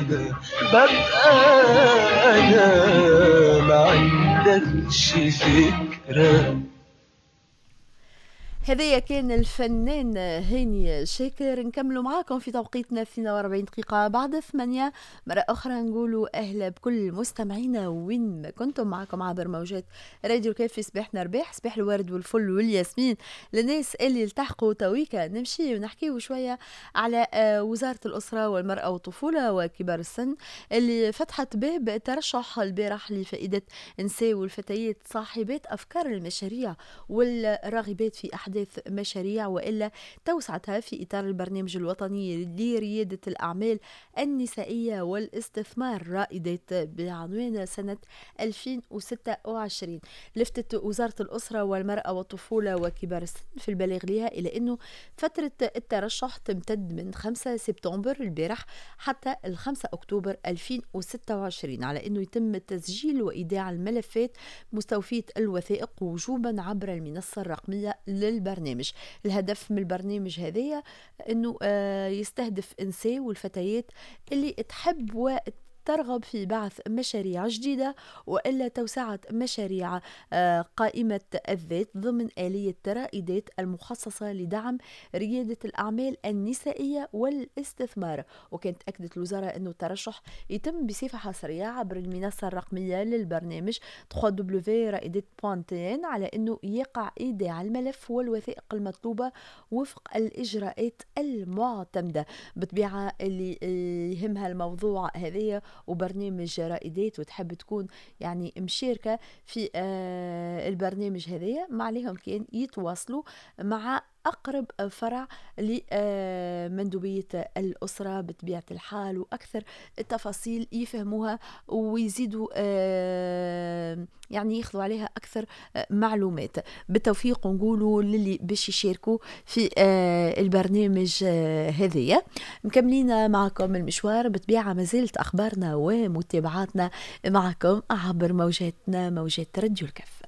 انا ببقى انا ما عندكش فكرة. هذايا كان الفنان هاني شاكر. نكملوا معاكم في توقيتنا 42 دقيقة بعد 8. مرة أخرى نقولوا أهلا بكل مستمعينا وين ما كنتم، معاكم عبر موجات راديو كيف في صباحنا رباح، صباح الورد والفل والياسمين للناس اللي التحقوا تويكا. نمشي ونحكيو شوية على وزارة الأسرة والمرأة والطفولة وكبار السن اللي فتحت باب ترشح البارح لفائدة النساء والفتيات صاحبات أفكار المشاريع والراغبات في أحداث مشاريع وإلا توسعتها في إطار البرنامج الوطني لريادة الأعمال النسائية والاستثمار رائدات بعنوان سنة 2026. لفتت وزارة الأسرة والمرأة والطفولة وكبار السن في البلاغ لها إلى أنه فترة الترشح تمتد من 5 سبتمبر البارح حتى 5 أكتوبر 2026، على أنه يتم تسجيل وإيداع الملفات مستوفية الوثائق وجوبا عبر المنصة الرقمية للبرنامج. الهدف من البرنامج هذايا أنه يستهدف النساء والفتيات اللي تحب وترغب في بعث مشاريع جديدة وإلا توسعة مشاريع قائمة الذات ضمن آلية رائدات المخصصة لدعم ريادة الأعمال النسائية والاستثمار. وكانت أكدت الوزارة أنه الترشح يتم بصفة حصرية عبر المنصة الرقمية للبرنامج www.raidat.tn، على أنه يقع إيداع الملف والوثائق المطلوبة وفق الإجراءات المعتمدة. بطبيعة اللي يهمها الموضوع هذايا وبرنامج رائدات وتحب تكون يعني مشاركة في البرنامج هذايا، ما عليهم كان يتواصلوا مع أقرب فرع لمندوبية الأسرة بطبيعة الحال، وأكثر التفاصيل يفهموها ويزيدوا يعني ياخذوا عليها أكثر معلومات. بالتوفيق نقولوا للي باش يشاركوا في البرنامج هذايا. مكملين معكم المشوار، بطبيعة ما زالت أخبارنا ومتابعاتنا معكم عبر موجاتنا موجات راديو الكاف.